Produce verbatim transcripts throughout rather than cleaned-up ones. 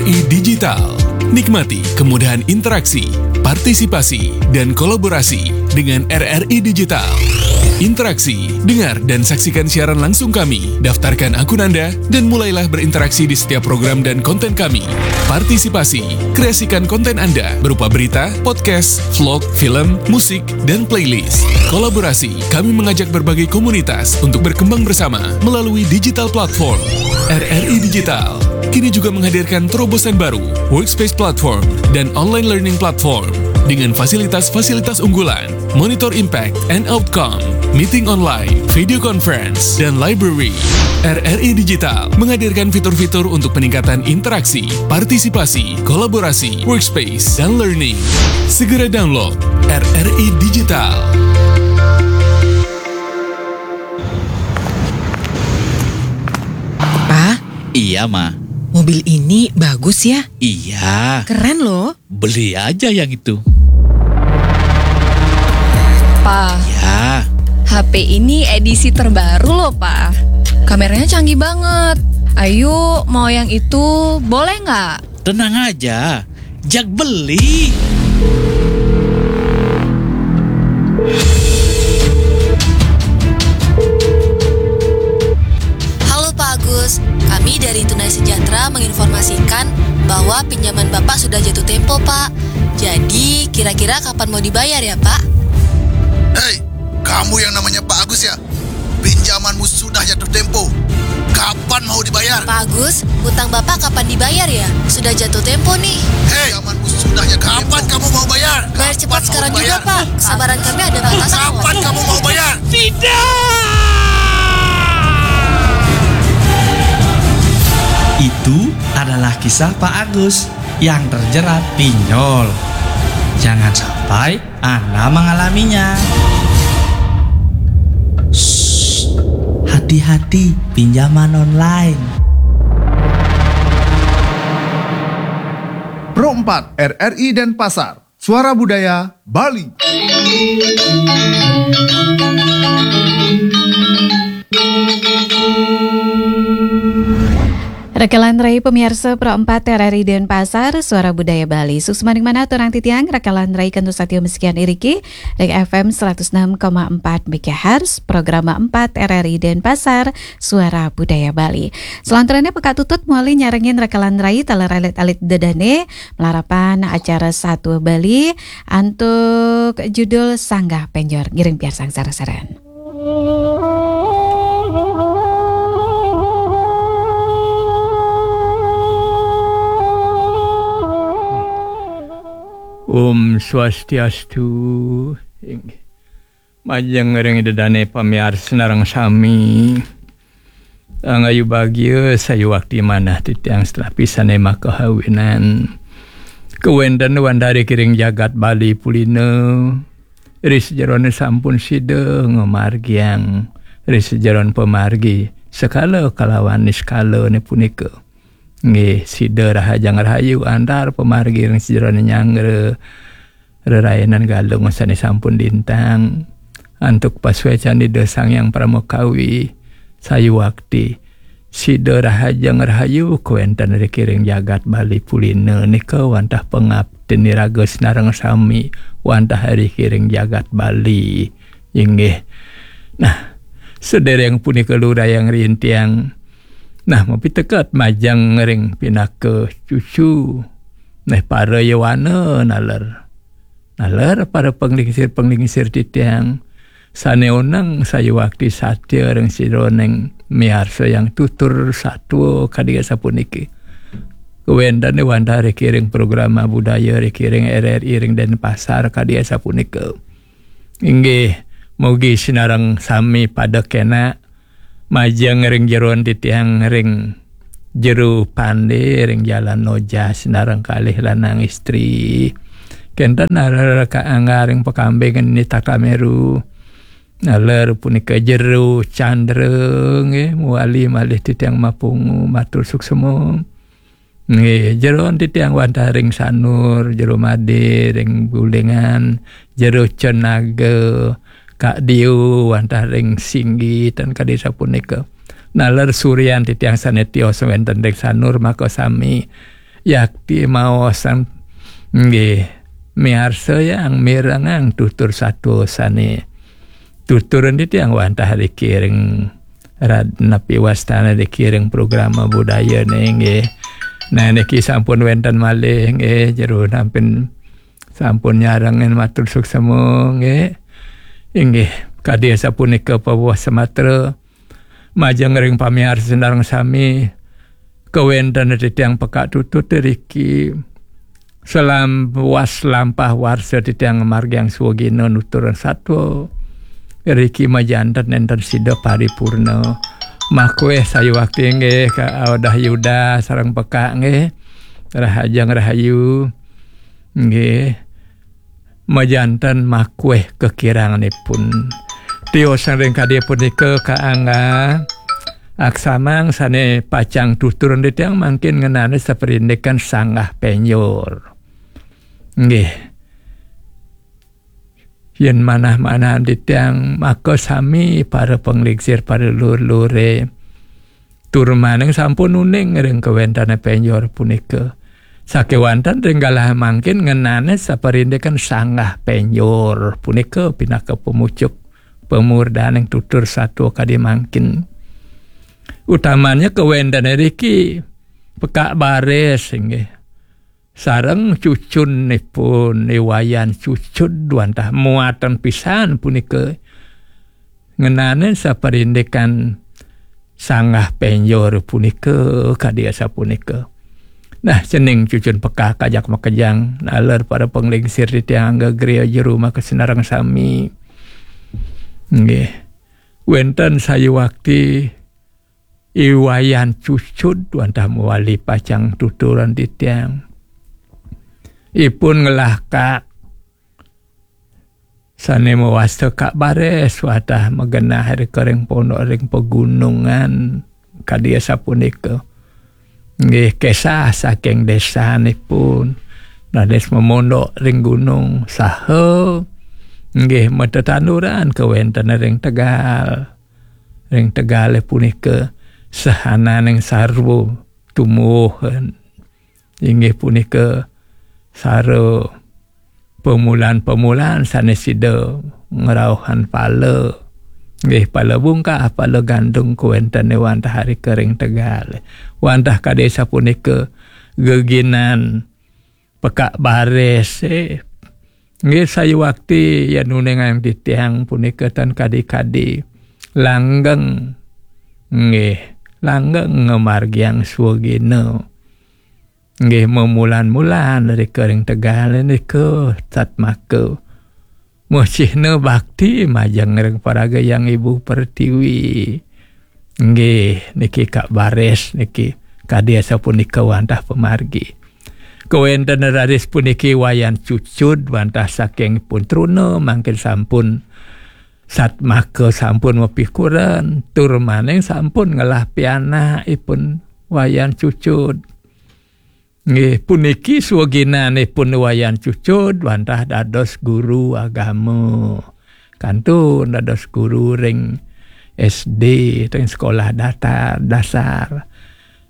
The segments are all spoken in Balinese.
Digital. Nikmati kemudahan interaksi, partisipasi, dan kolaborasi dengan R R I Digital. Interaksi, dengar dan saksikan siaran langsung kami. Daftarkan akun Anda dan mulailah berinteraksi di setiap program dan konten kami. Partisipasi, kreasikan konten Anda berupa berita, podcast, vlog, film, musik, dan playlist. Kolaborasi, kami mengajak berbagai komunitas untuk berkembang bersama melalui digital platform. R R I Digital kini juga menghadirkan terobosan baru, Workspace Platform dan Online Learning Platform, dengan fasilitas-fasilitas unggulan, monitor impact and outcome, meeting online, video conference, dan library. R R I Digital menghadirkan fitur-fitur untuk peningkatan interaksi, partisipasi, kolaborasi, workspace, dan learning. Segera download R R I Digital. Pa, Iya, Ma. Mobil ini bagus ya? Iya. Keren loh. Beli aja yang itu. Pa, Ya. H P ini edisi terbaru loh, Pa. Kameranya canggih banget. Ayo, mau yang itu, boleh nggak? Tenang aja. Jak beli. Halo Pak Agus, kami dari Tunai Sejahtera menginformasikan bahwa pinjaman Bapak sudah jatuh tempo, Pak. Jadi, kira-kira kapan mau dibayar ya, Pak? Hei, kamu yang namanya Pak Agus ya? Pinjamanmu sudah jatuh tempo. Kapan mau dibayar? Pak Agus, utang Bapak kapan dibayar ya? Sudah jatuh tempo nih. Hei, pinjamanmu sudah jatuh tempo. Kapan kamu mau bayar? Bayar cepat sekarang juga, Pak. Kesabaran kami ada batasnya. Kapan kamu mau bayar? Itu adalah kisah Pak Agus yang terjerat pinjol. Jangan sampai Anda mengalaminya. Shh, hati-hati pinjaman online. Pro empat R R I Denpasar, Suara Budaya Bali. Rakalan rai pamiarsa Pro empat R R I Denpasar, Suara Budaya Bali. Suksma ning manah aturang titiang, rakalan rai kantos satia masikian iriki ring F M seratus enam koma empat megahertz, programa empat R R I Denpasar, Suara Budaya Bali. Salanturane pekak tutut mawali nyarengin rakalan rai taler alit-alit dedane, malarapan acara Satua Bali, antuk judul Sanggah Penjor. Ngiring piarsang sareng-sareng. Om Swastiastu. Majeng ring ida dane pamiarsa sareng sami. Angayu bagia sayuwakti manah titiang setelah pisane makahawinan. Kawenten wantah ring jagat Bali Pulina. Ri sajerone sampun sida ngamargiang ri sajeron pamargi sekala kalawan niskalane punika. Nggih, sida rahajeng rahayu antar pamargi ring sajerone nyanggra rerainan Galung sane sampun lintang. Antuk pasuecan Ida Sang Hyang Parama Kawi sayuwakti. Sida rahajeng rahayu kawenten ring jagat Bali Pulina nika wantah pangaptin iraga sareng sami wantah ring jagat Bali. Inggih. Nah, sedereng punika lugrayang ring tiang. Nah, mapiteket majeng ring pinaka cucu. Nah, para yowana naler. Naler para panglingsir-panglingsir titiang. Sane oneng sayuwakti satia ring sajeroning miarsa yang tutur satua kadi asapuniki. Kawentane wantah ring program budaya ring R R I ring Denpasar kadi asapunika. Inggih, mugi sinareng sami pada kena majeng ring jeroan titiang ring Jero Pande ring Jalan Noja sinareng kalih lanang istri. Kenten naler ka angga ring pakambing nitah kameru. Naler punika Jero Candra nggih muali malih titiang mapungu matur suksema. Nggih, jeroan titiang wantah ring Sanur, Jero Made, ring Gulingan, Jero Cenaga, Kak Dio, wantah ring Singgi, tan kadi sapunika. Naler surian titiang sane tios wenten ring Sanur, maka sami yakti maosan, nggih, miarsa yang mirengang tutur satua sane tuturan titiang wantah riki ring rad-, napi wastane riki ring program budaya ne, nggih. Nah, niki sampun wenten malih, nggih, jero nampin sampun nyarengin matur suksema, nggih. Inggih, kadi sapunika pawuh sematra majeng ring pamiarsa sareng sami, kawenten titiang pekak tutut riki. Selam was lampah warsa titiang margiang swagina nuturan satua. Riki majanten nenten sida paripurna. Makweh sayuwakti nggih ka Odah Yuda sareng pekak nggih. Rahajeng rahayu. Nggih. Majanten makweh kekiranganipun. Tiosan ring kadi punika kaangga aksamang sane pacang tuturan titiang mangkin ngenane saparindikan sanggah penjor. Nggih. Yen manah-manahan titiang, maka sami para panglingsir, para lur-lure, tur maning sampun uning ring kawentane penjor punika. Sakewanten ring galah mangkin ngenane saparindikan sanggah penjor punika pinaka pamucuk pamurdaning tutur satua kadi mangkin. Utamanya kawentane riki pekak baris inggih. Sareng cucunipun, I Wayan Cucud wantah muatan pisan punika ngenane saparindikan sanggah penjor punika kadi asapunika. Nah, cening cucun pekak ajak makejang, naler para panglingsir titiang angga griya jero makasina sareng sami. Nggih. Wenten sayuwakti I Wayan Cucud wantah mawali pacang tuturan titiang. Ipun ngelah kak sane mawasta kak baris wantah magenah rika ring pondok ring pegunungan kadi asapunika. Nggih, kesah saking desanipun. Raris mamondok ring gunung saha nggih matetanduran kawenten ring Tegal. Ring Tegale punika sahananing sarwa tumuwuhan. Inggih punika sara pamulan-pamulan sane sida ngrauhan pala. Nggih, pala bungkah, pala gandung kawentene wantah rika ring Tegal. Wantah kadi sapunika geginan pekak baris, eh. Nggih, sayuwakti yen uningang titiang punika tan kadi-kadi langgeng. Nggih, langgeng ngamargiang swagina. Nggih, mamulan-mulan rika ring Tegal nika satmaka. Muh cihna bakti majeng ring paraga Hyang Ibu Pertiwi. Nggih, niki kak baris niki kadi asapunika wantah pamargi. Kawenten raris puniki Wayan Cucud wantah saking pun truna mangkin sampun satmaka sampun mapikuren, tur maning sampun ngelah pianakipun Wayan Cucud. Nggih, puniki swaginanipun Wayan Cucud wantah dados guru agama. Kantun dados guru ring S D, ring sekolah datar, dasar.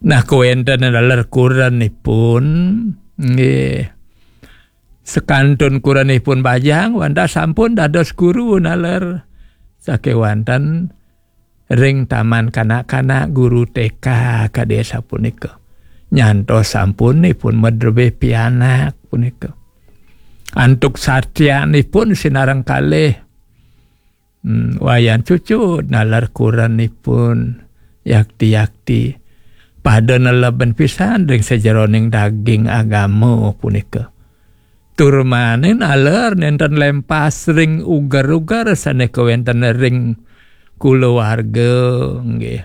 Nah, kawenten naler kurenipun, nggih. Sekantun kurenipun bajang, wantah sampun dados guru naler. Sakewanten ring taman kanak-kanak guru T K kadi sapunika. Nyantos sampunipun madrebih pianak punika. Antuk satyanipun sinareng kalih, hmm, Wayan Cucud naler kurenipun yakti-yakti pada neleben pisan ring sajeroning daging agama punika. Tur maning naler nenten lempas ring uger-uger sane kawenten ring kulawarga, nggih.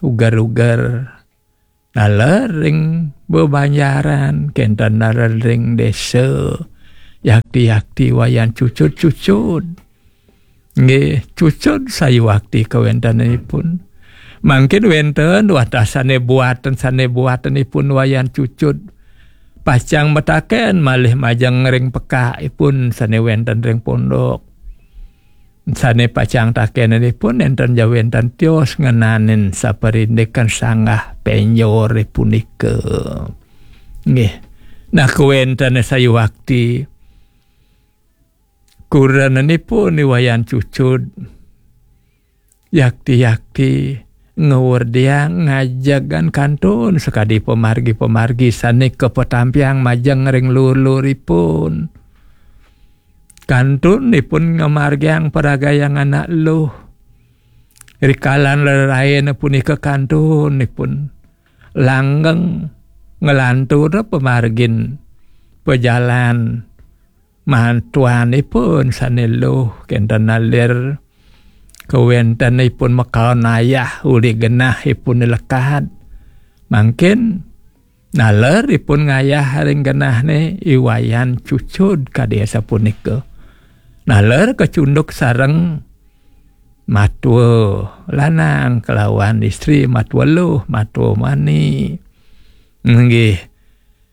Uger-uger naler ring bebanjaran, kenten naler ring desa, yakti-yakti Wayan Cucud-Cucud. Nggih, Cucud sayuwakti kawentenipun. Mangkin wenten wantah sane buaten, sane buatenipun Wayan Cucud. Pacang mataken malih majeng ring pekakipun sane wenten ring pondok. Sane pacang takenanipun nenten ja wenten tios ngenanin saparindikan sanggah penjor punika. Nggih. Nah, kawéntenan sayuwakti kurenanipun I Wayan Cucud, yakti-yakti ngawerdiang ngajegang kantun sakadi pamargi-pamargi sané kapatampiang majeng ring luur-luuripun. Kantun ipun ngamargiang paragayan anak luh. Rikalan reraina punika kantun ipun langgeng nglantur pamargin pajalan matuanipun sané luh, kénten naler kawéntenipun makaon ayah uli genahipun lekad. Mangkin naler ipun ngayah ring genahné I Wayan Cucud kadi asapunika. Naler kacunduk sareng matua lanang kalawan istri, matua luh, matua mani. Nggih.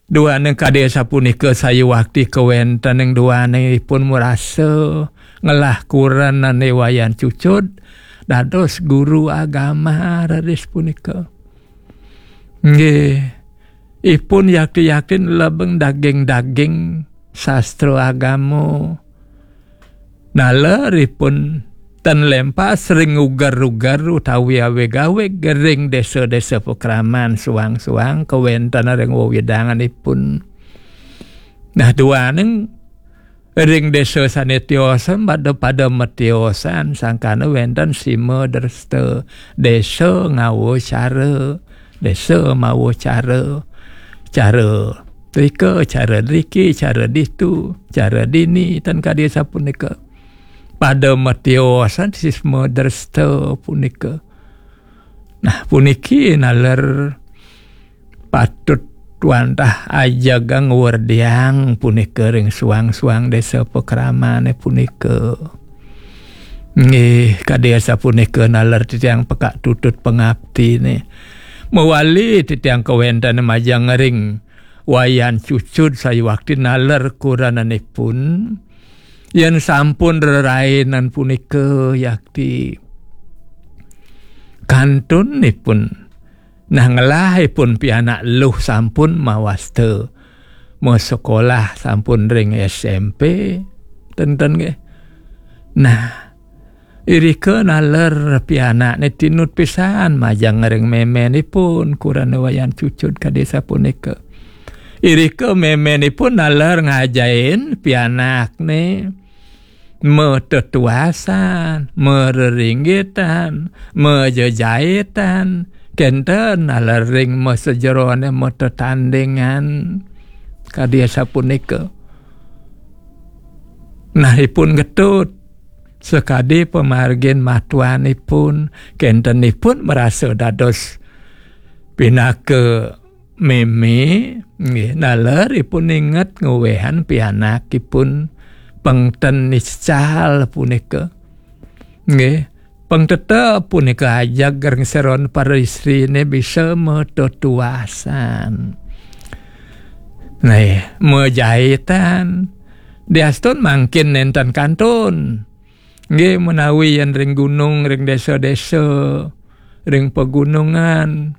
Duaning kadi asapunika sayuwakti kawéntening duaning ipun marasa ngelah kurenan I Wayan Cucud dados guru agama raris punika. Nggih, ipun yakti-yakti lebeng daging-daging sastra agama. Naler ipun ten lempas ring uger-uger utawi awig-awig ring désa-désa pakraman suang-suang kawéntenan ring wewidanganipun. Nah, duaning ring désa sané tiosan pada, pada matiosan sangkana wénten sima dresta, désa ngawa cara, désa mawa cara, cara drika, cara driki, cara ditu, cara dini, ten kadi sapunika. Pada matiosan sisma dresta punika. Nah, puniki naler patut wantah ajegang werdiang punika ring suang-suang désa pakramané punika. Nggih, kadi asapunika naler titiang pekak tutut pangaptiné. Mawali titiang kawéntenan majeng ring Wayan Cucud sayuwakti naler kurenanipun. Yén sampun rerainan punika yakti kantun ipun. Nah, ngelah ipun pianak luh sampun mawasta masekolah sampun ring S M P, ten-ten nggih. Nah, irika naler pianakné tinut pisan majeng ring méménipun, kurenan Wayan Cucud kadi sapunika. Irika méménipun naler ngajahin pianakné matetuasan, marerenggitan, majejaitan, kénten naler ring masajeroné matetandingan. Kadi sapunika. Nah, ipun getut sakadi pamargin matuanipun, kénten ipun marasa dados pinaka mémé, nggih, naler ipun inget ngwehan pianakipun pang ten nical punika. Nggih, pang tetep punika ajeg ring sajeroning para istriné bisa matetuasan. Nah, majaitan. Diastun mangkin nénten kantun. Nggih, menawi yén ring gunung, ring désa-désa, ring pegunungan,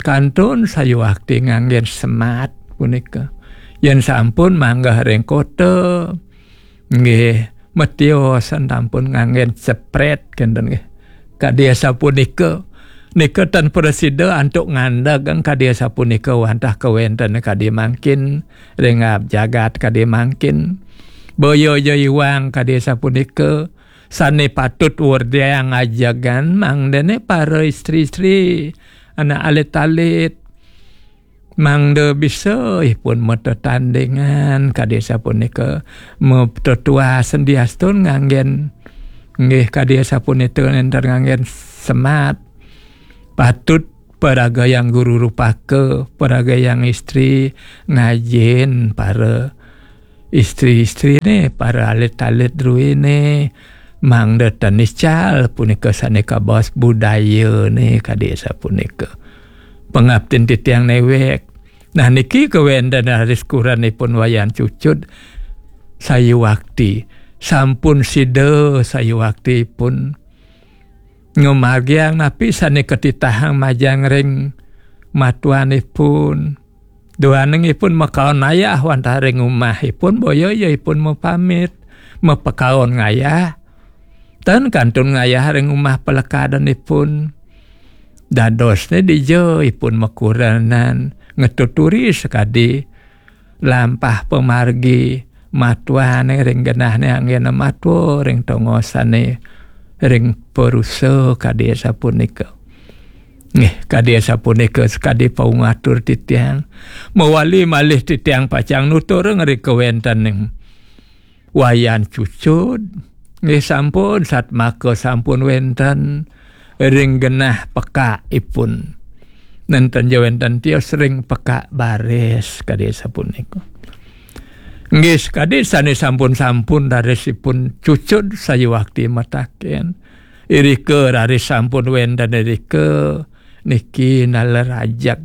kantun sayuwakti nganggén semat punika. Yén sampun manggeh ring kota, nggih, matiosan sampun nganggén ceprét, kénten nggih. Kadi asapunika, nika tan prasida antuk ngandeg kadi asapunika wantah kawénten kadi mangkin, ring aab jagat kadi mangkin. Boya ja iwang kadi asapunika, sané patut werdiang ajegan mangdané para istri-istri, anak alit-alit, mangda bisa ipun matetandingan kadi sapunika, matetuasan diastun nganggén, nggih, kadi sapunika nénten nganggén semat. Patut paragayang guru rupaka, paragayang istri ngajin para istri-istriné, para alit-alit druéné, mangda tan nical punika sané kabaos budayané kadi sapunika. Pangaptin titiang néwék. Nah, niki kawéntenan raris kurenipun Wayan Cucud sayuwakti. Sampun sida sayuwaktipun ngamargiang napi sané katitahang majeng ring matuanipun. Duaning ipun makaon ayah wantah ring umah ipun, boya ya ipun mapamit, mapakaon ngayah. Tan kantun ngayah ring umah palekadan ipun. Dadosne dija ipun makurenan, ngatuturi sakadi lampah pamargi, matuan ring genahne anggena matua ring tongosane ring parusa kadi sapunika. Nggih, kadi sapunika sakadi pangatur titiang. Mawali malih titiang pacang nutur ring kawentening Wayan Cucud. Nggih, sampun satmaka sampun wenten ring genah pekakipun. Nenten ja wenten tios ring Pekak Baris kadi sapunika. Nggih, sakadi sane sampun-sampun rarisipun Cucud sayuwakti mataken. Irika raris sampun wenten irika niki nala rajeg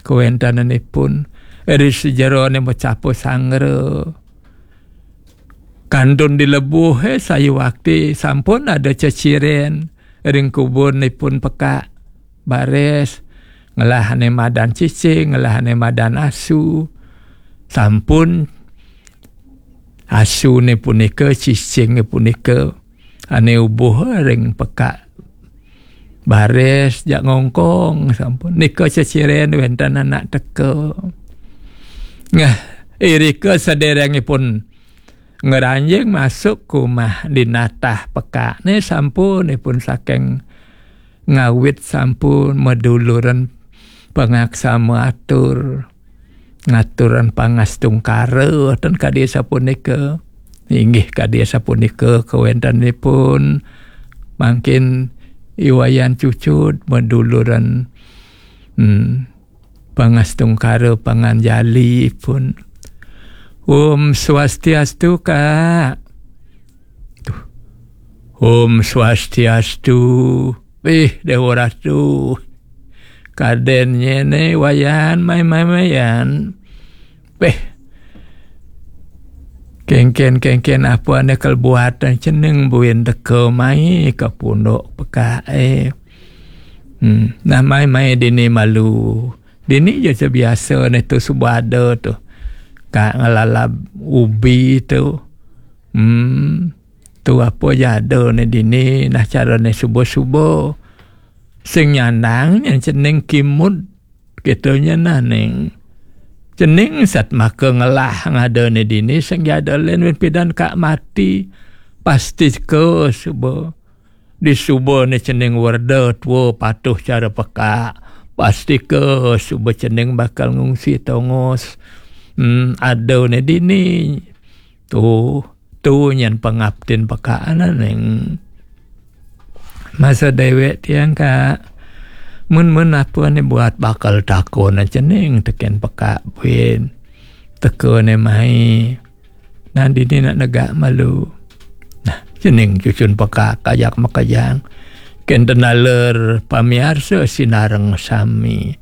kawentenanipun ri sajerone macapa sangra. Kantun dilebuhe sayuwakti sampun ada ceciren ring kubunipun Pekak Baris, ngelahane madan cicing, ngelahane madan asu. Sampun asune punika, cicinge punika ane ubuh ring Pekak Baris jak ngongkong sampun. Nika ceciren wenten anak teka. Nah, irika sederengipun ngranjing masuk ke umah dinatah pekakne sampun ipun saking ngawit sampun maduluran pangaksama atur, ngaturan pangastungkara, ten kadi sapunika. Inggih kadi sapunika kawentenipun mangkin I Wayan Cucud maduluran, hmm, pangastungkara panganjali pun. Om Swastiastu, Kak. Tuh. Om Swastiastu. Ih, Dewa Ratu. Kaden nyene Wayan, mai, mai, Wayan. Peh. Kengken, kengken apa ane kelebuatan cening buin teka mai ke punduk pekak, eh. Hmm, nah, mai, mai dini malu. Dini ja sebiasa ne tu suba ada tu. Kak ngelalab ubi tu. Hmm. Tu apa ja ada ne dini, nah, carane suba-suba. Sing nyandang nyen cening kimud kita nyen nah ning. Cening satmaka ngelah ngada ne dini, sing ja ada len win pidan Kak mati. Pastika suba. Disuba ne cening werda tua patuh cara pekak. Pastika suba cening bakal ngungsi tongos. Hmm, ada ne dini. Tu, tu nyen pangaptin pekak ane ning. Masa dewek tiang, Kak. Mun-mun apa ne buat bakal takon cening teken pekak buin. Teka ne mai. Nah, dini nak negak malu. Nah, cening cucun pekak kajak makajang. Kenten taler pamiarsa sinareng sami.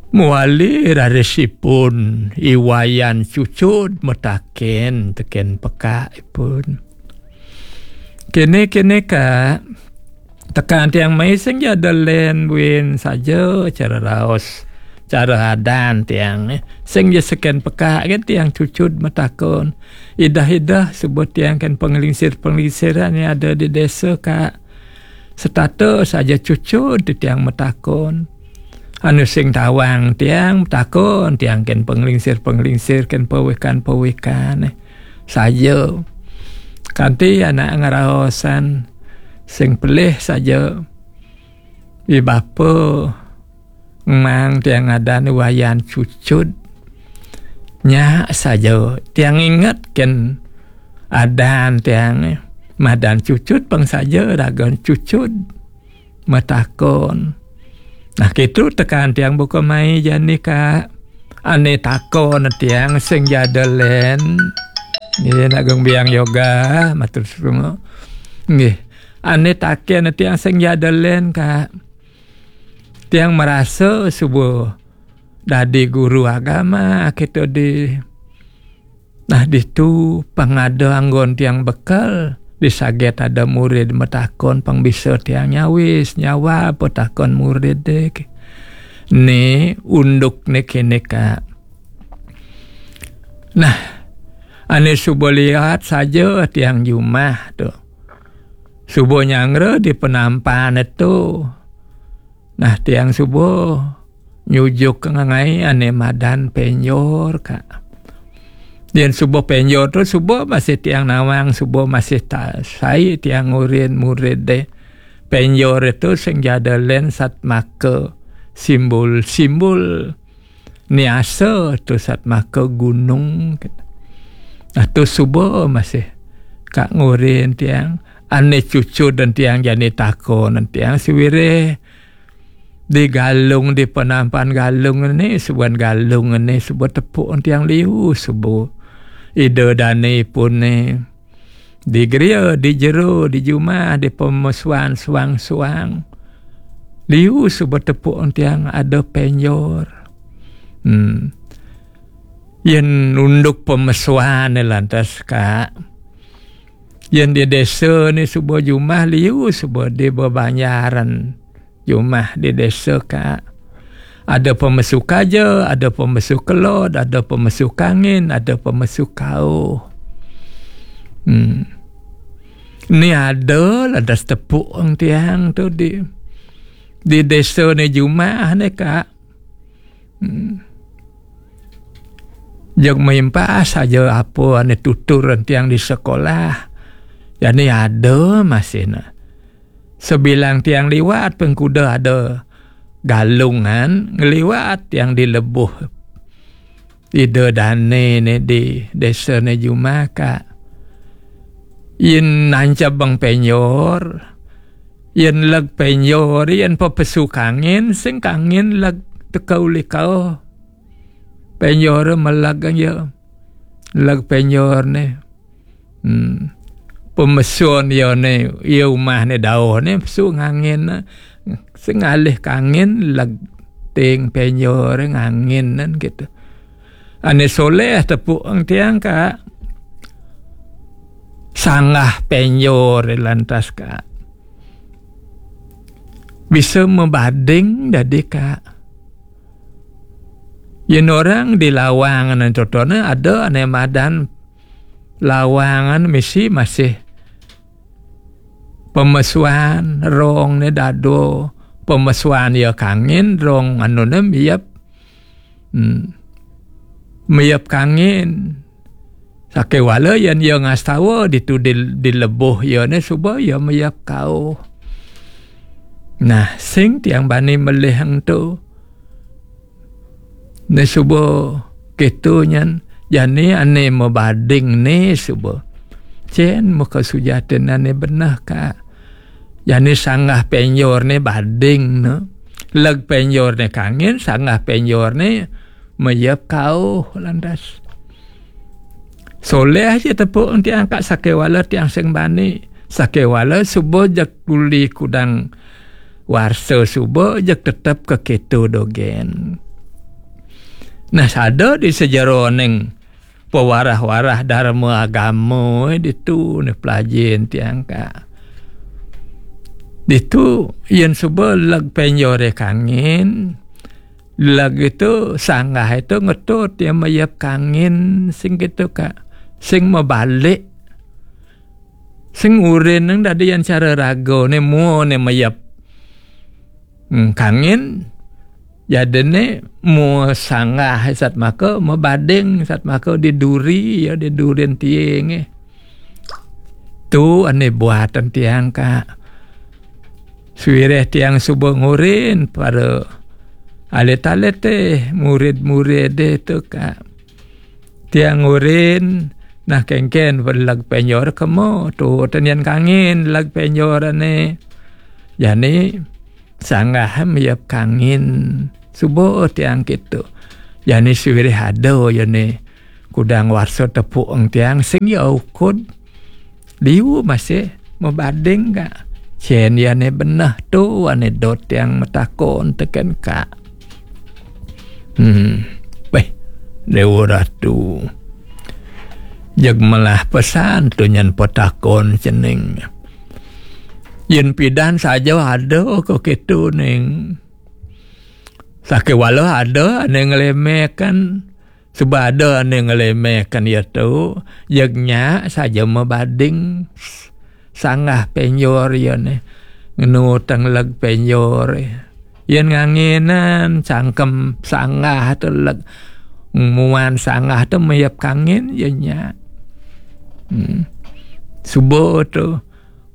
Mawali rarisipun I Wayan Cucud mataken teken pekakipun. Kene, kene, Kak. Tekan tiang mai sing ja ada len buin saja cara raos, cara adan tiang, eh. Sing ja seken pekak kan tiang cucud matakon. Idah-idah sebut tiang kan penglingsir-penglingsiran yang ada di desa, Kak. Setata saja cucud tiang matakon. Anu sing tawang tiang matakon, tiang kan penglingsir-penglingsir, kan pawikan-pawikan, eh. Saja. Kanti anak ngeraosan sing pelih saja. I bapa emang tiang adan Wayan Cucud. Nya saja tiang inget ken adan tiang, eh. Madan Cucud pang saja ragan cucud. Matakon. Nah, kitu tekan tiang buka mai jani, Kak. Ane takon tiang sing ja ada len. Nggih, nak geng biang yoga, matur suwun. Nggih. Ane taken tiang sing ja ada len, Kak. Tiang marasa suba dadi guru agama kita di Nah, ditu pang ada anggon tiang bekel, disaget ada murid matakon, pang bisa tiang nyawis, nyawab petakon murid dek. Né unduk né kéné, Kak. Nah, ané suba liwat saja tiang jumah to. Suba nyanggra di penampan to. Nah, tiang suba nyujuk ngaé ané madan pénjor, Kak. Yén suba pénjor to suba masih tiang nawang, suba masih ta-, sai tiang ngurin murid dé. Pénjor to sing ja ada lén satmaka simbol-simbol niasa to satmaka gunung. Nah, to suba masih Kak ngurin tiang. Ané cucud dan tiang jani takon dan tiang sawireh di Galung, di penampan Galung né, suban Galung né, suba tepuk tiang liu, suba Ida dané pun né. Di geria, di jero, di jumah, di pemesuan suang-suang. Liu suba tepuk tiang ada pénjor. Hmm. Yén unduk pemesuan né lantas, Kak. Yén di desa né suba jumah liu suba di bebanjaran jumah di desa, Kak. Ada pemesu kaja, ada pemesu kelod, ada pemesu kangin, ada pemesu kauh. Hmm. Ni ada lantas tepuk tiang to di, di desa né jumah né, Kak. Hmm. Jeg maimpah saja apa ané tutur tiang di sekolah. Jani ada masih nah. Sabilang tiang liwat pengkuda ada Galungan, ngeliwat tiang di lebuh Ida dané né di desa né jumah, Kak. Yén nancabang pénjor, yén leg pénjor, yén pepesu kangin, sing kangin leg teka uli kauh. Pénjor meleg ya. Leg pénjor né. Hmm. Pemesun ya né, ya umah né dauh né, pesu ngangin né. Sing ngalih kangin, leg ting pénjor ngangin nan gitu. Ané soléh tepuk tiang, Kak. Sanggah pénjor lantas, Kak. Bisa mabading dadi, Kak. Yén orang di lawangan totona ada ané madan lawangan misi masih pemesuan, rong né dado, pemesuan ya kangin, rong anu né miep. Hmm. Miep kangin. Sakéwala yén ya ngastawa ditu di, di lebuh ya né suba ya miep kauh. Nah, sing tiang bani melih ento. Né suba kéto nyan, jani ané mabading né suba. Cén muka sujatin ané beneh, Kak. Jani sanggah pénjor né bading né. Leg pénjor né kangin, sanggah pénjor né miep kauh lantas. Soléh ja tepuk tiang, Kak, sakéwala tiang sing bani. Sakéwala suba jeg uli kudang warsa suba jeg tetep kakéto dogén. Nah, sada di sajeroning pawarah-warah darma agama ditu né pelajin tiang, Kak. Ditu yén suba leg pénjoré kangin, leg itu sanggah itu ngetut ya miep kangin sing gitu, Kak. Sing mabalik. Sing urin nang dadi yan cara raga né mua né miep. Hmm, kangin. Jadiné mua sanggah satmaka mabading satmaka di duri ya di durin tiing, eh. Tu ané buatan tiang, Kak. Sawireh tiang suba ngurin para alit-alité, murid-muridé tu, Kak. Tiang ngurin, nah, kénkén leg pénjor kema, tu tenian kangin leg pénjor ané. Jani sanggah miep kangin. Suba tiang kéto. Jani sawireh ada ya né kudang warsa tepuk tiang sing ya ukud. Liu masih mabading, Kak. Cén ya né beneh tu ané dot tiang matakon tekén, Kak. Hmm. Beh, Déwa Ratu. Jeg melah pesan tu nyan patakon cening. Yén pidan saja ada ka kéto ning. Sakéwala ada ané nglemekan, suba ada ané nglemekan ya tu, jeg nya saja mabading sanggah penjor ya né. Ngenu tengleg penjor. Yén nganginan cangkem sanggah tu leg, muan sanggah tu mayep kangin ya nya. Hmm. Suba tu,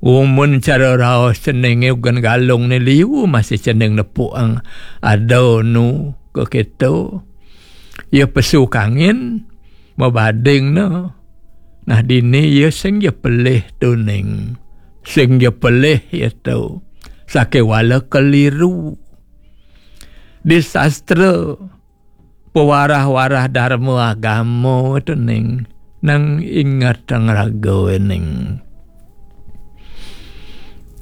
umun cara raos cening ugan galung né liu masih cening nepuk ang ada nu ke kita. Ya pesu kangin, mabading na. Nah, dini ya sing ya pelih tu ning. Sing ya pelih ya tu. Sakéwala keliru. Di sastra pewarah-warah dharma agama tu ning. Nang ingat ang raga ning.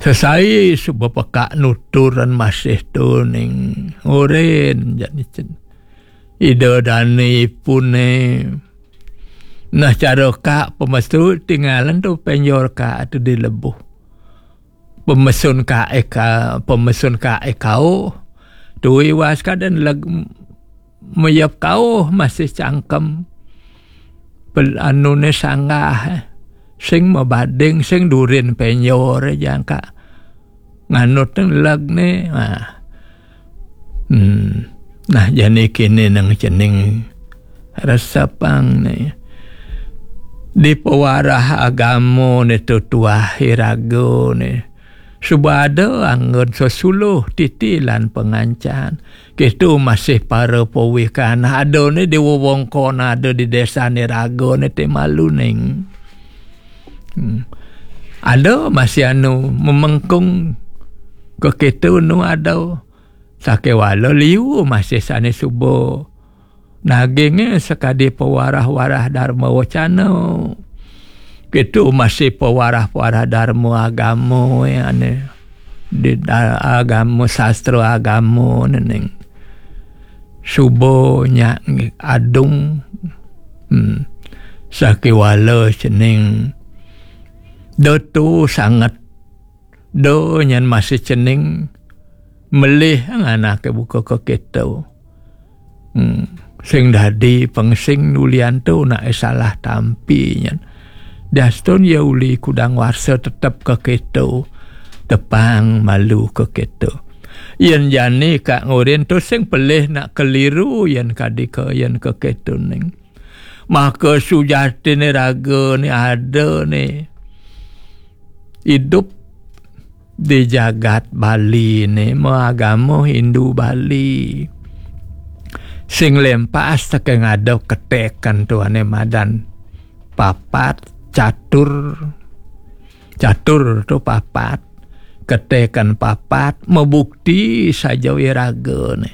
Sesai suba pekak nuturan masih tu ning. Urin jani cen. Ida dani ipun né. Nah, cara kak pemesu tinggalan tu penjor kak tu di lebuh. Pemesun kak eka, pemesun kak ekau. Tui was kadan leg mayep kau masih cangkem. Pel anu né sanggah, eh. Sing mabading, sing durin penjor jangka. Nganut teng leg né. Ah. Hmm. Nah, jani kini nang cening resepang né. Di pewarah agama né tu tuah iraga né. Suba ada anggon sesuluh titi lan pengancan. Kitu masih para pawikan ada né di wewengkon ada di desa né raga né ti malu ning. Hmm. Ada masih anu memengkung ke kitu nu ada. Sakéwala liu masih sané suba. Nagingé sakadi pewarah-warah dharma wacana. Kitu masih pewarah-warah dharma agama ya né. Di da-, agama, sastra agama né ning. Suba nya ngi-, adung. Hmm. Sakéwala cening. Datu sanget. Do nyan masih cening melih ngan anaké buka ke kita. Hmm. Sing dadi pengsing ulian tu nak salah tampi nyan. Diastun ya uli kudang warsa tetep ke kita. Tepang malu ke kita. Yén jani kak ngurin tu sing pelih nak keliru yén kadi ke yén ke kita ning. Maka sujatiné raga né ada né idup di jagat Bali né, maagama Hindu Bali. Sing lempas teké ngadep ketekan tu ané madan papat, catur. Catur tu papat. Ketekan papat, mabukti saja iraga né.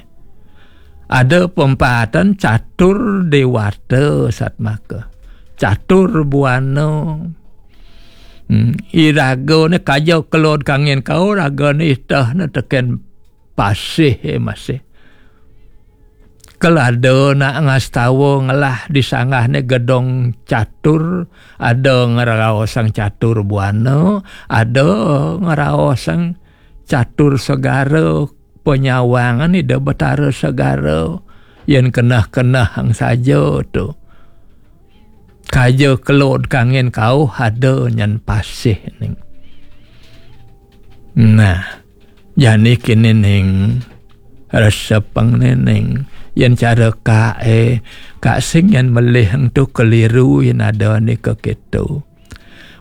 Ada pempatan catur dewata satmaka. Catur buana. Hmm, iraga né kaja kelod kangin kau, raga né itah né teken pasih, eh, masih. Kelada nak ngastawa ngelah di sanggah né gedong catur, ada ngeraosang catur buana, ada ngeraosang catur segara, penyawangan Ida Betara Segara, yén keneh-keneh ang saja tu. Kaja kelod kangin kauh ada nyan pasih ning. Nah, jani kini ning, resepang né ning. Yén cara kak, eh, kak sing yén melih ang tu keliru yén ada né ke kitu.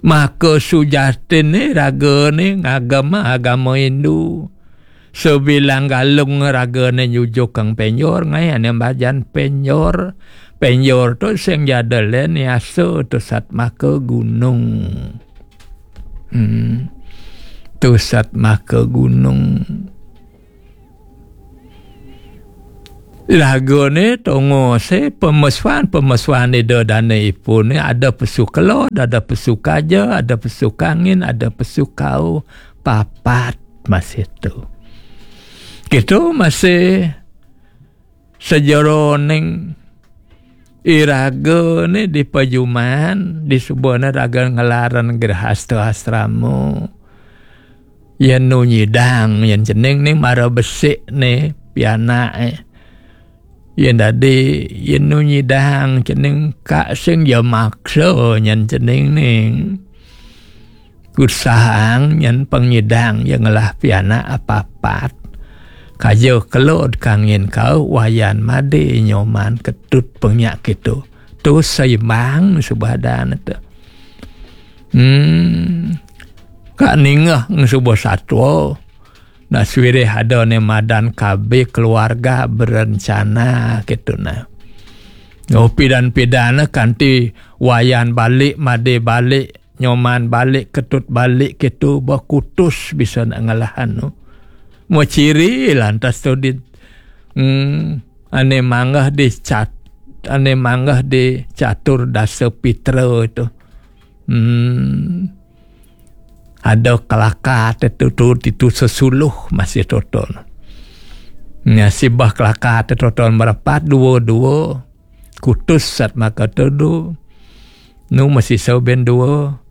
Maka sujatiné raga né ngagama agama Hindu. Sebilang galung raga né nyujukang penjor, ngai ané bajan penjor. Penjor tu sing jada lén yasa tu satmaka gunung. Hmm. Tu satmaka gunung. Raga né tongosé pemesuan, pemesuan Ida Dane Ipuné ada pesu kelod, ada pesu kaja, ada pesu kangin, ada pesu kau, papat masih tu. Kitu masih sajeroning iraga né di pajuman, di subana raga ngelaran grehasta asrama. Yén nu nyidang, yén cening né mara besik né pianak, eh. Yén dadi, yén nu nyidang cening, ka sing ya maksa nyen cening ning. Usahaang nyen pang nyidang ya ngelah pianak apapat. Kaja kelod kangin kau, Wayan Made, Nyoman Ketut, pang nyak kéto. Tu seimbang subadan tu. Hmm. Ka ningeh suba satua. Nah, suirih ada né madan kabeh keluarga berencana kéto nah. Oh, pidan-pidan kanti Wayan balik, Made balik, Nyoman balik, Ketut balik kéto, ba kutus bisa nak ngelahan tu. Mau ciri lantas tu di, hmm, ané manggah di cat, ané manggah di catur dasa pitra tu. Hmm. Ada kelaka tetutu titu sesuluh masih toton. Nya sibah kelaka tetuton merapat dua-dua. Kutus Sat Maka tudu. Nu masih sauben dua.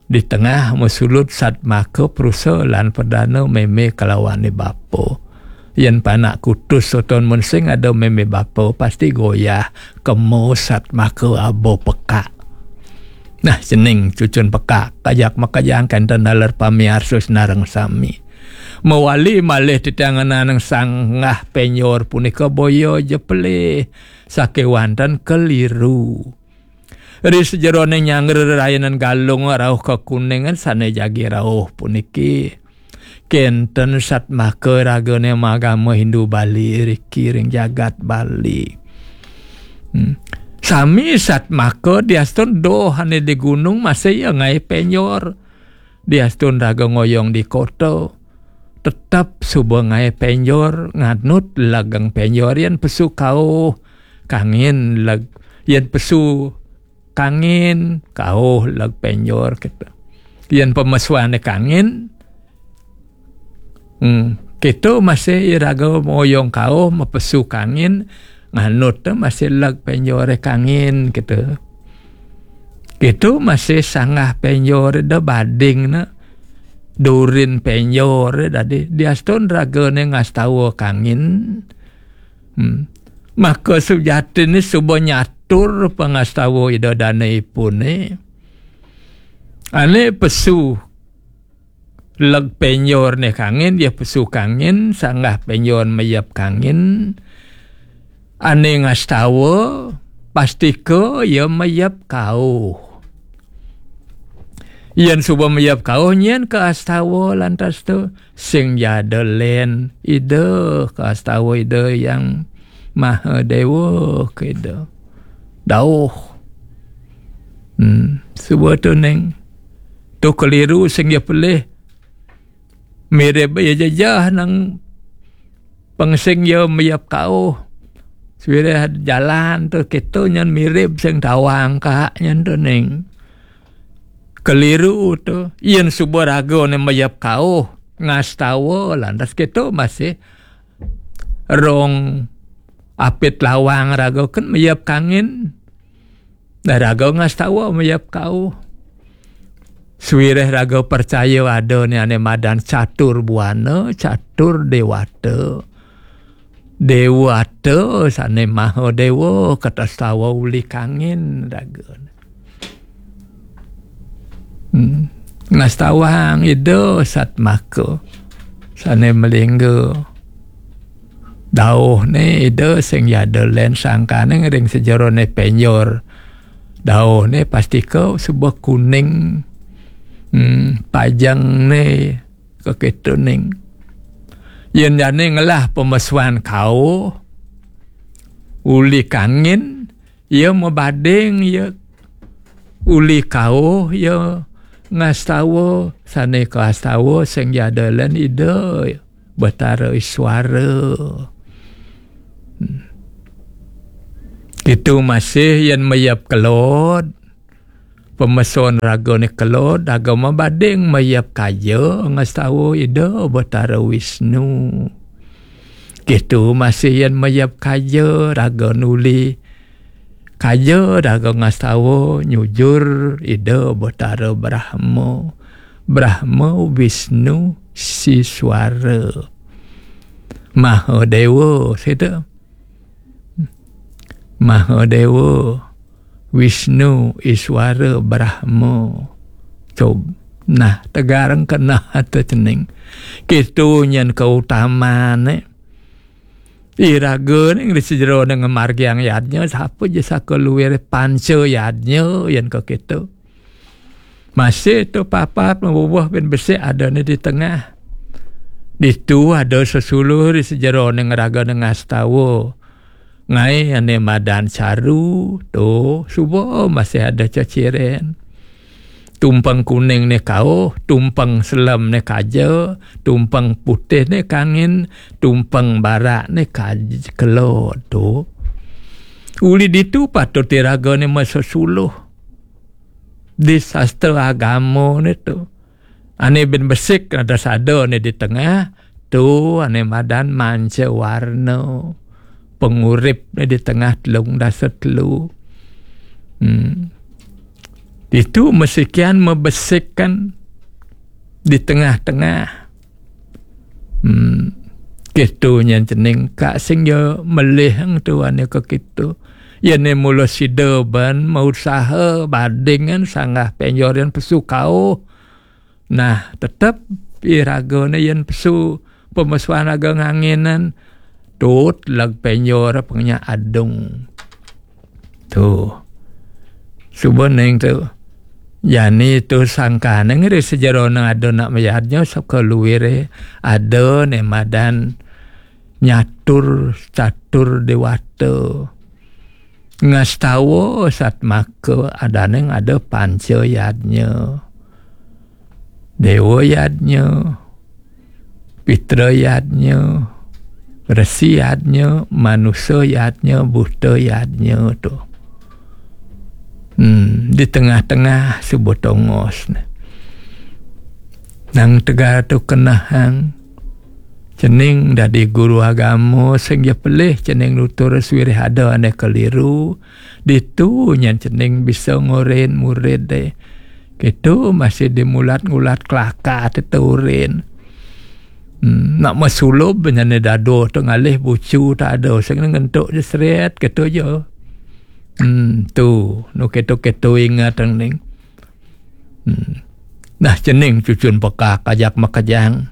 Di tengah mesulut Sat Maka Perusa lan Perdana meme kelawan ni bapa. Yén panak kutus toton mun sing ada meme bapa pasti goyah kemo Sat Maka aba pekak. Nah, cening cucun pekak, kajak makajang kenten daler pamiarsa sinareng sami. Mawali malih titiang ngenanang sanggah penjor punika boya ja pelih sakéwanten keliru. Ri sajeroning nyanggra rayanan Galung rauh ka Kuningan sané jagi rauh puniki. Kenten Sat Maka ragané magama Hindu Bali riki ring jagat Bali. Hmm. Sami Sat Maka diastun doh ané di gunung masih ya ngaé penjor. Diastun raga ngoyong di kota. Tetep suba ngaé penjor, nganut legeng penjor yén pesu kauh kangin leg, yén pesu kangin, kauh leg penjor kéto. Yén pemesuané kangin, hmm, kéto masih iraga moyong kauh, mapesu kangin, nganut tu masih leg penjoré kangin kéto. Kéto masih sanggah penjoré da bading na. Durin penjoré dadi diastun ragané ngastawa kangin. Hmm. Maka sujatiné suba nyatur pangastawa Ida Dane ipuné. Ané pesu leg penjor né kangin, ya pesu kangin, sanggah penjor mayep kangin. Ané ngastawa, pastika ya mayep kauh. Yén suba mayep kauh, nyén kaastawa lantas tu. Sing jada lén Ida, kaastawa Ida Hyang Maha Dewa, keda. Dauh. Hmm, suba tu ning. Tu keliru sing ya pelih. Mirib ya jejeh nang pang sing ya mayep kauh. Suirih jalan tu kéto nyan mirib sing tawang ka nyan tu ning. Keliru tu. Yén suba raga né mayep kauh, ngastawa lantas kéto masih rong apit lawang raga kan mayep kangin. Dah raga ngastawa mayep kauh. Suirih raga percaya ada né ané madan catur buana, catur dewata. Dewata sané maha dewa, katastawa uli kangin raga. Hmm. Ngastawang Ida Satmaka. Sané malingga. Dauh né Ida sing jada lén sangkaning ring sajeroné penjor. Dauh né pastika suba kuning. Hmm, pajeng né kakétuning. Yén jani ngelah pamesuan kauh, uli kangin, ya mabading ya uli kauh, ya ngastawa, sané kaastawa sing jada lén Ida Batara Iswara. Hmm. Kitu masih yén mayep kelod, pamesuan raga né kelod, raga mabading mayep kaja, ngastawa Ida Batara Wisnu. Kitu masih yén mayep kaja, raga nuli kaja, raga ngastawa nyujur Ida Batara Brahma. Brahma Wisnu Siswara. Maha Dewa, sida. Mahadewa, Wisnu, Iswara, Brahma. Cob. Nah, tegarang kena atu cening. Kitu nyen keutamaan, eh. Iraga ning di sejero ning margiang yadnya, sapa je saka luir panca yadnya, yen ka kitu. Masih tu papat mabubuh bin besik ada ni di tengah. Ditu ada sesuluh di sejero ning raga ning astawa. Ngai ane madan caru, tu suba masih ada ceciren. Tumpeng kuning ni kauh, tumpeng selem ni kaja, tumpeng putih ni kangin, tumpeng barak ni kaj-, kelo tu. Uli ditu patut iraga ni mesesuluh. Di sastra agama ni tu. Ane bin besik ada sada ni di tengah, tu ane madan manca warna. Pengurip ni di tengah telung dasa telu. Hmm. Ditu mesikian mebesikkan di tengah-tengah. Hmm. Kitu nyen cening ka sing ya melih eng tu ane ke kitu. Ya ne mula sida ban mausaha badingan sanggah penjoran pesu kauh. Nah, tetep iraga ne yen pesu pemesuan raga nganginan tut lag penjor pengnya adung. Tu. Suba ning tu. Jani tu sangkane ngeri sejero nang ada nak mayadnya saka luire ada ne madan nyatur catur dewata. Ngastawa satmaka adaneng ada panca yadnya. Dewa yadnya, Pitra yadnya, Resi yadnya, Manusa yadnya, Buta yadnya tu. Hmm, di tengah-tengah suba tongos ne. Nang tegal tu kenehang. Cening dadi guru agama sing ya pelih cening nutur suwirih ada ane keliru. Ditu nyen cening bisa ngorin murid deh. Kitu masih dimulat-ngulat kelaka teturin. Hmm, nak mesulub nyane dado tu ngalih bucu tak ada sing ngentuk je seret kitu je. Hmm, tu nu kitu-kitu ingat ning. Hmm. Nah, cening cucun pekak ajak makejang.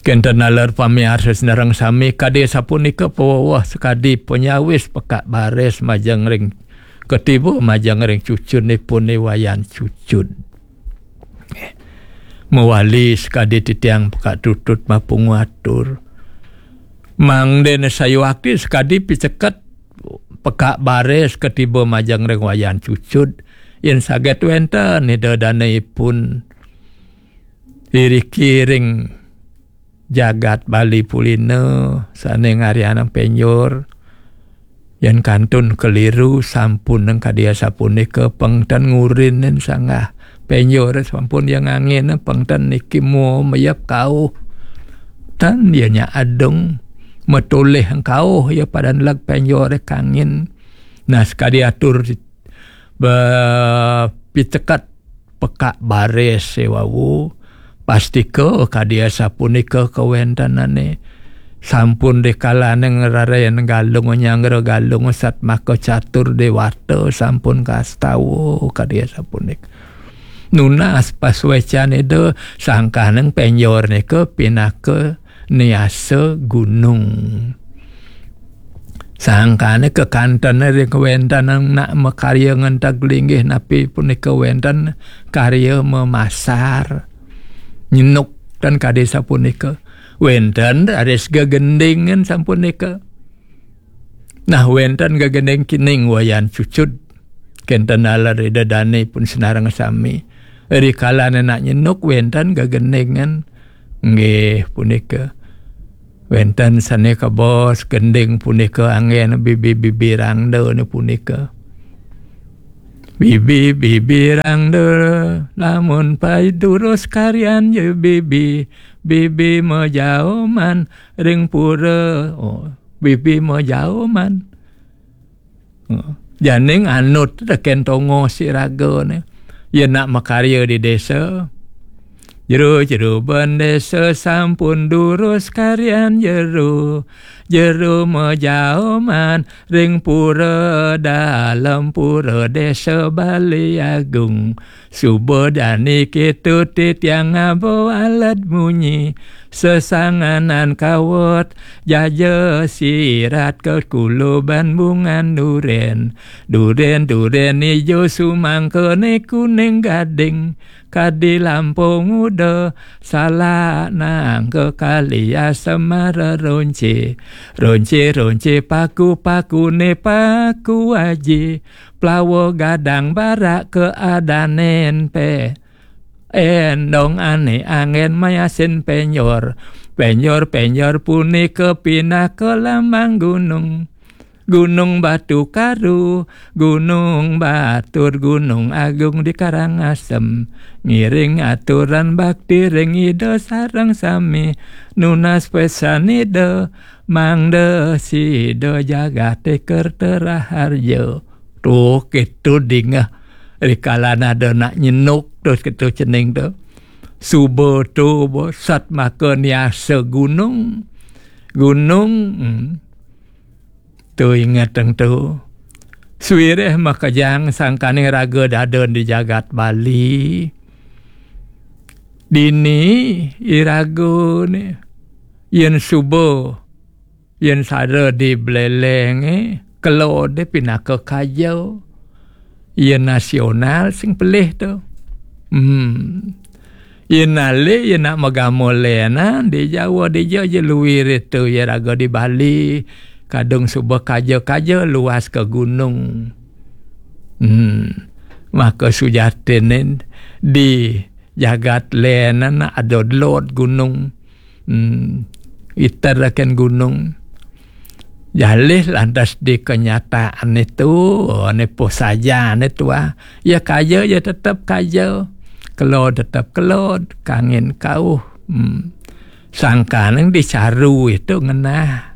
Kenten naler pamiarsa senareng sami kadi sapunika paweweh sakadi penyawis pekak baris majeng ring ketiba majeng ring cucun ipun Wayan Cucud. Mawali sakadi titiang pekak tutut mapungu atur. Mangdene sayuakti sakadi piceket pekak baris ketiba majeng ring Wayan Cucud, yen saget wenten ida dane ipun iriki ring jagat Bali Pulina sane ngarianang penjor. Yen kantun keliru sampun nang kadi asapunika pengten ngurinin sanggah penjor sampun yang angin pengten niki mo mayap kauh. Tan dia nya adung matoleh kauh ya padan lag penjor kangin. Nah, sekadi atur be-, pitekat pekak baris sewawu, pastika kadi asapunika kawentenane. Sampun dikalane ngrarayan galung nyanggra galung satmaka catur dewata sampun kastawa kadi asapunika. Nunas pasuecan ida sangkaning penjor nika pinaka niasa gunung. Sangkane kekantene ring kawentenan nak makarya ngentag linggih napi punika wenten karya memasar. Nyenuk tan kadi sapunika. Wenten raris gegendingan sampunika. Nah, wenten gegending kining Wayan Cucud. Kenten naler ida dane pun senareng sami. Ri kalane nak nyenuk wenten gegendingan. Nggih, punika. Wenten sane kabos gending punika anggen bibi-bibi rangda ne punika. Bibi-bibi rangda, lamun pai durus karyan je bibi, bibi majaoman ring pura. Oh, bibi majaoman. Janing anut teken tongos iraga ne. Yen nak makarya di desa. Jero-jero bendesa sampun durus karyan jero. jero majaoman ring pura dalem pura Desa Bali Agung. Suba jani kitu titiang ngaba alat munyi, sesanganan kawat jaja sirat kekuluban bungan duren. Duren-duren ijo sumangkene kuning gading, kadi lampung uda, salak nangka kali asemara ronce. Ronce-ronce paku-pakune paku aji, plawa gadang barak keadanen pe. Endong ane anggen mayasin penjor. Penjor-penjor punika pinaka lambang gunung. Gunung Batu Karu, Gunung Batur, Gunung Agung di Karangasem. Ngiring aturan bakti ring Ida sareng sami. Nunas pesan Ida, mangda sida jagate kerta raharja. Tuh, kitu dingeh. Rikala ada nak nyenuk, terus kitu cening tu. Suba tu, bo, satmaka niasa gunung. Gunung, hmm. Tu ingetang tu. Suireh makejang sangkaning raga dadan di jagat Bali. Dini iraga ni, yen suba, yen sada di Belelenge, kelode pinaka kaja. Yen nasional sing pelih tu. Hmm. Yen alih, yen nak magama lenan, di Jawa dija ja luir itu, ya raga di Bali, kadung suba kaja-kaja luas ke gunung. Hmm. Maka sujatinne di jagat lenan ada lot gunung. Hmm. Iter akan gunung. Jalih lantas di kenyataan itu, oh, ne posaja ne tua. Ya kaja, ya tetap kaja. Kelod tetap kelod, kangin kauh. Hmm. Sangkaning dicaru itu ngenah.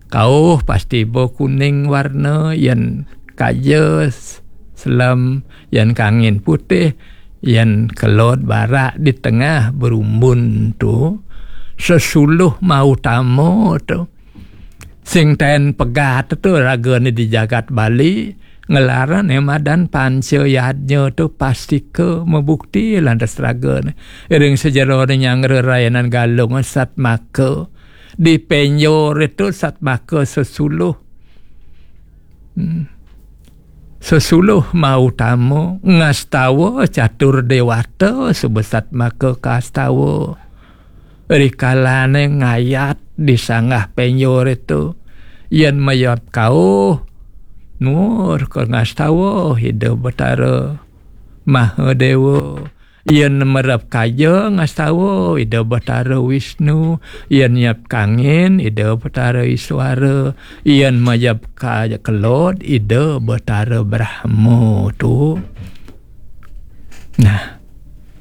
Kauh pasti bo kuning warna, yen kaja s-, selem, yen kangin putih, yen kelod barak di tengah berumbun tu, sesuluh mautama tu. Sing ten pegat tu ragane di jagat Bali, ngelarane madan panca yadnya tu pastika mebukti lantas ragane. Ring sejerone nyanggra rayanan Galung satmaka. Di penjor itu satmaka sesuluh. Hmm. Sesuluh mautama ngastawa catur dewata sebesat maka kastawa. Rikalane ngayat di sanggah penjor itu. Yen mayap kauh, nuwur ka ngastawa Ida Betara Mahadewa. Yen merep kaja ngastawa Ida Betara Wisnu, yen nyep kangin Ida Betara Iswara, yen majep kaja kelod Ida Betara Brahma tu. Nah,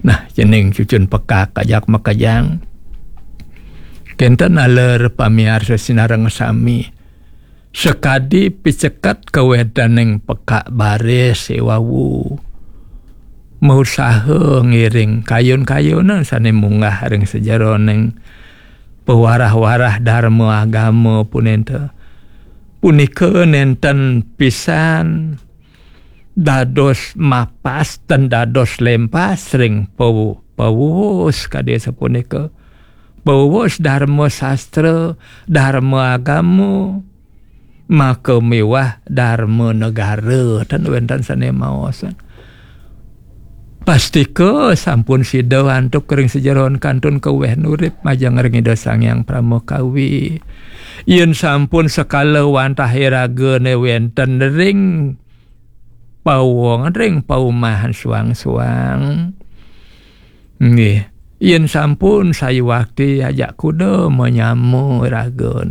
nah, cening cucun pekak ajak makejang. Kenten aler pamiarsa sinareng sami. Sakadi piceket kawedaning pekak baris iwawu. Mausaha ngiring kayun-kayunan sane munggah ring sajeroning pawarah-warah darma agama punenta. Punika nenten pisan dados mapas ten dados lempas ring pawu-, pawuwus kadi sapunika. Pawuwus darma sastra, darma agama, maka miwah darma negara, ten wenten sane maos. Pastika sampun sida antuk ring sajeroning kantun kaweh nurip majeng ring Ida Sang Hyang Parama Kawi. Yen sampun sekala wantah iragane wenten ring pawong ring paumahan suang-suang. Nggih, yen sampun sayuwakti ajak kuda manyama raga.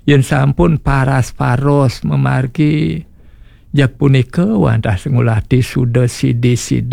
Yen sampun paras-paros mamargi, jak punika wantah sing ulati suda sidi-sidi